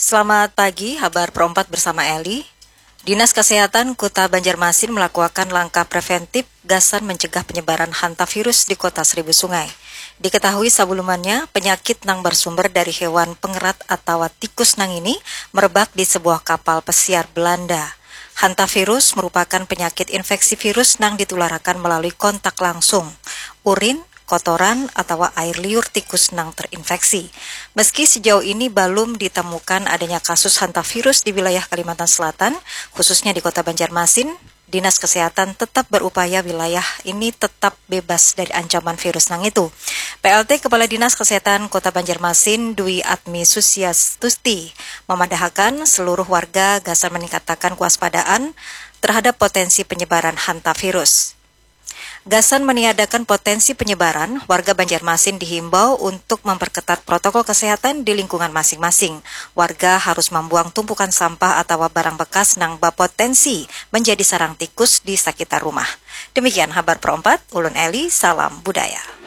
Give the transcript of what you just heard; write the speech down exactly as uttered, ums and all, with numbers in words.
Selamat pagi, habar perompat bersama Eli. Dinas Kesehatan Kota Banjarmasin melakukan langkah preventif gasan mencegah penyebaran hantavirus di Kota Seribu Sungai. Diketahui sebelumnya, penyakit nang bersumber dari hewan pengerat atau tikus nang ini merebak di sebuah kapal pesiar Belanda. Hantavirus merupakan penyakit infeksi virus nang ditularakan melalui kontak langsung, urin, kotoran, atau air liur tikus nang terinfeksi. Meski sejauh ini belum ditemukan adanya kasus hantavirus di wilayah Kalimantan Selatan, khususnya di Kota Banjarmasin, Dinas Kesehatan tetap berupaya wilayah ini tetap bebas dari ancaman virus nang itu. P L T Kepala Dinas Kesehatan Kota Banjarmasin, Dwi Atmi Susiastuti, memadahakan seluruh warga gasan meningkatakan kewaspadaan terhadap potensi penyebaran hantavirus. Gasan meniadakan potensi penyebaran, warga Banjarmasin dihimbau untuk memperketat protokol kesehatan di lingkungan masing-masing. Warga harus membuang tumpukan sampah atau barang bekas nang berpotensi menjadi sarang tikus di sekitar rumah. Demikian habar perompat, ulun Eli, salam budaya.